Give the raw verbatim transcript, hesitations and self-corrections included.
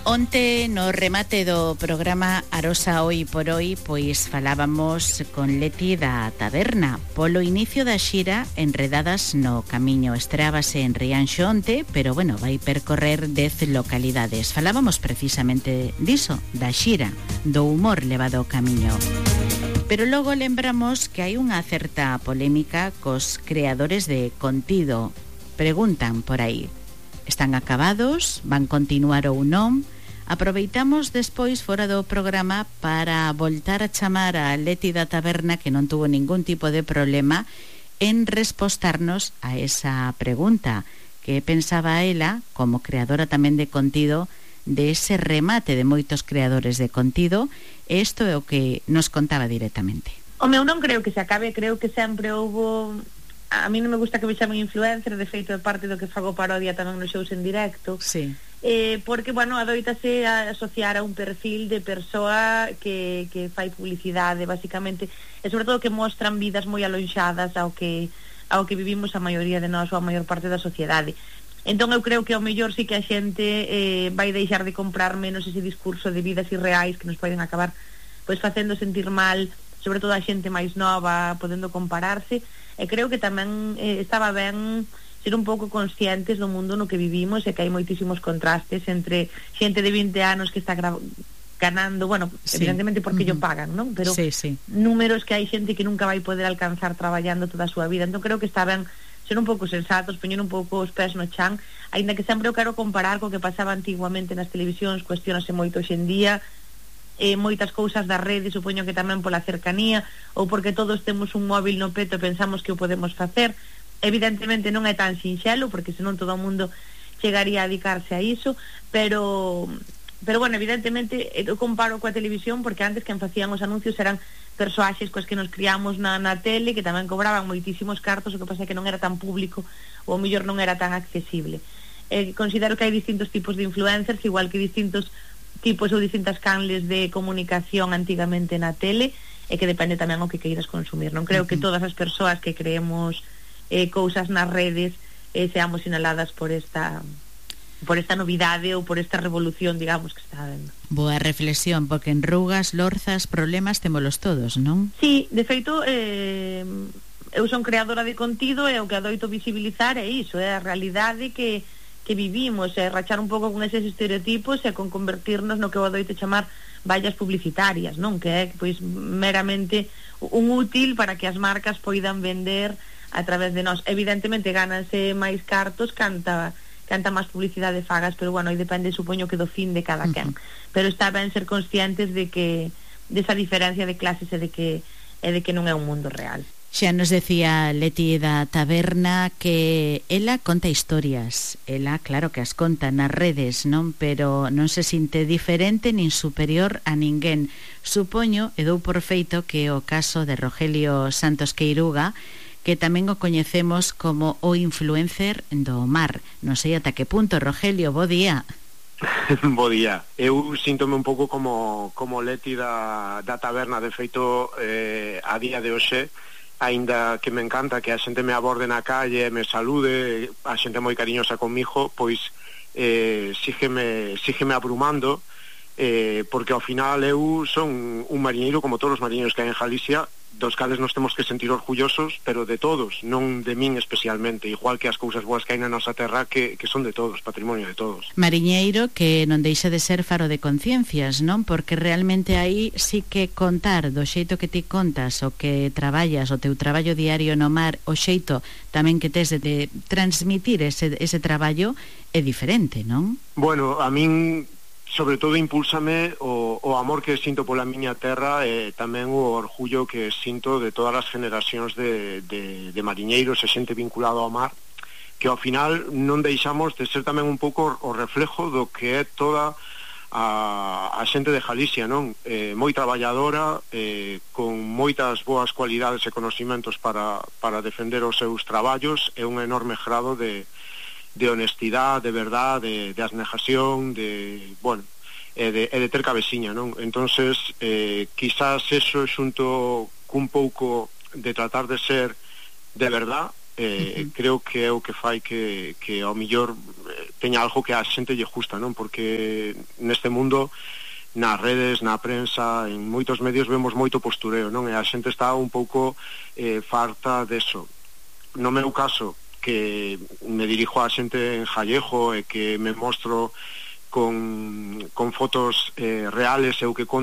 Onte no remate do programa Arosa Hoy por Hoy pois falábamos con Leti da Taberna polo inicio da xira Enredadas no Camiño. Estreábase en Rianxo onte, pero bueno, vai percorrer dez localidades. Falábamos precisamente diso, da xira, do humor levado ao camiño. Pero logo lembramos que hai unha certa polémica cos creadores de contido. Preguntan por aí, están acabados? Van continuar ou non? Aproveitamos despois fora do programa para voltar a chamar a Leti da Taberna, que non tuvo ningún tipo de problema en respostarnos a esa pregunta, que pensaba ela, como creadora tamén de contido, de ese remate de moitos creadores de contido. Isto é o que nos contaba directamente. O meu non creo que se acabe, creo que sempre houbo... A mí non me gusta que me chamen influencer, de feito é parte do que fago parodia tamén nos shows en directo. Sí. Eh, porque, bueno, adoítase a asociar a un perfil de persoa que, que fai publicidade, basicamente, e sobre todo que mostran vidas moi alonxadas ao que, ao que vivimos a maioría de nós ou a maior parte da sociedade. Entón eu creo que ao mellor sí que a xente eh, vai deixar de comprar menos ese discurso de vidas irreais que nos poden acabar pois facendo sentir mal, sobre todo a xente máis nova, podendo compararse. E creo que tamén eh, estaba ben ser un pouco conscientes do mundo no que vivimos e que hai moitísimos contrastes entre xente de vinte anos que está ganando, bueno, sí, evidentemente porque uh-huh. ello pagan, non? Pero sí, sí. números que hai xente que nunca vai poder alcanzar traballando toda a súa vida. Entón creo que está ben ser un pouco sensatos, poñer un pouco os pés no chan, aínda que sempre eu quero comparar co que pasaba antiguamente nas televisións, cuestionase moito hoxe en día, eh, moitas cousas da rede, supoño que tamén pola cercanía, ou porque todos temos un móvil no peto e pensamos que o podemos facer. Evidentemente non é tan sinxelo, porque senón todo o mundo chegaría a dedicarse a iso, pero pero bueno, evidentemente eu comparo coa televisión, porque antes quen facían os anuncios eran persoaxes coas que nos criamos na, na tele, que tamén cobraban moitísimos cartos, o que pasa é que non era tan público, ou ao mellor non era tan accesible. Eh, considero que hai distintos tipos de influencers, igual que distintos tipos ou distintas canles de comunicación antigamente na tele, e que depende tamén o que queiras consumir. Non creo uh-huh. que todas as persoas que creemos Eh, cousas nas redes eh, seamos sinaladas por esta por esta novidade ou por esta revolución, digamos, que está habendo. Boa reflexión, porque en rugas, lorzas, problemas témolos todos, non? Sí, de feito eh, eu son creadora de contido e o que adoito visibilizar é iso, é a realidade que, que vivimos, é rachar un pouco con eses estereotipos e con convertirnos no que eu adoito chamar vallas publicitarias, non? Que é pois meramente un útil para que as marcas poidan vender a través de nós. Evidentemente gananse máis cartos canta canta máis publicidade fagas, pero bueno, aí depende, supoño, que do fin de cada quen. Uh-huh. Pero está ben ser conscientes de que desa diferencia de clases e de que e de que non é un mundo real. Xa nos decía Leti da Taberna que ela conta historias. Ela, claro que as conta nas redes, non? Pero non se sinte diferente nin superior a ninguén. Supoño, e dou por feito, que o caso de Rogelio Santos Queiruga, que tamén o coñecemos como o influencer do mar. Non sei ata que punto. Rogelio, bo día. Bo día. Eu síntome un pouco como, como Leti da, da Taberna. De feito, eh, a día de hoxe, aínda que me encanta que a xente me aborde na calle, me salude, a xente moi cariñosa comigo, pois eh, sígueme, sígueme abrumando, eh, porque ao final eu son un mariñeiro como todos os mariñeiros que hai en Galicia, dos cales nos temos que sentir orgullosos, pero de todos, non de min especialmente, igual que as cousas boas que hai na nosa terra, que, que son de todos, patrimonio de todos. Mariñeiro que non deixa de ser faro de conciencias, non? Porque realmente aí sí que contar do xeito que ti contas, o que traballas, o teu traballo diario no mar, o xeito tamén que tes de, de transmitir ese, ese traballo é diferente, non? Bueno, a min sobre todo impúlsame o, o amor que sinto pola miña terra e tamén o orgullo que sinto de todas as generacións de, de, de mariñeiros e xente vinculado ao mar, que ao final non deixamos de ser tamén un pouco o reflejo do que é toda a, a xente de Galicia, non? Eh, moi traballadora, eh, con moitas boas cualidades e conocimentos para, para defender os seus traballos e un enorme grado de de honestidade, de verdade, de, de abnegación, de, bueno, e de, e de ter cabeciña, non? Entonces, eh, quizás eso xunto cun pouco de tratar de ser de verdad, eh, uh-huh. creo que é o que fai que, que ao millor eh, teña algo que a xente lle justa, non? Porque neste mundo, nas redes, na prensa, en moitos medios vemos moito postureo, non? E a xente está un pouco eh, farta deso. No meu caso, que me dirijo a xente en Jallejo e que me mostro con, con fotos eh, reales e o que conto